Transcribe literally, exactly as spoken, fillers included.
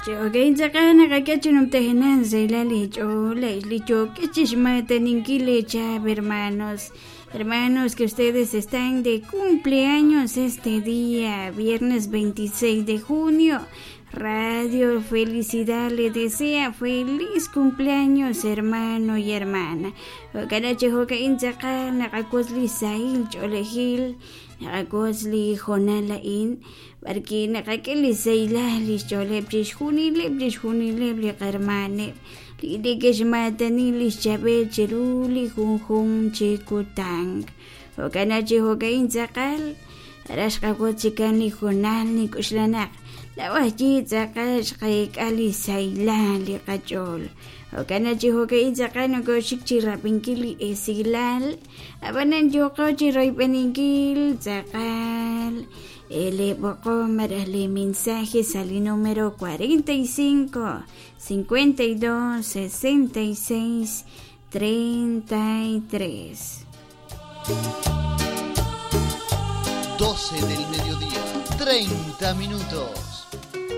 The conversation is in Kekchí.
Jo'kan tz'aqal naqak'e numtajenan saylal li ch'ool li yook'e chixmataninkil leechab hermanos. Hermanos, que ustedes están de cumpleaños este día, viernes veintiséis de junio. Radio Felicidad le desea feliz cumpleaños, hermano y hermana. Jo'kan chi jo'ka'in tz'aqal naqak'ut li sahil ch'oolejil, naqak'ut li hoonal a'in b'arki naqak'e li saylal li xch'ooleb' chixjunileb' chixjunileb' li qarmaneb' li neke'xmaatani li xchab'el chiru li junjun chi kutan. Jo'kan chi jo'ka'in tz'aqal ara xqak'ut chikan li hoonal nik'uxlanaq lawajyi tz'aqal xqayk'a li saylal li qach'ool. Jo'kan chi jo'ka'in tz'aqal nokoxik chi rab'inkil li esilal ab'anan yoqo chi royb'eninkil tz'aqal le b'oqom maraj le mensaje al número cuarenta y cinco, cincuenta y dos, sesenta y seis, treinta y tres. doce del mediodía, treinta minutos.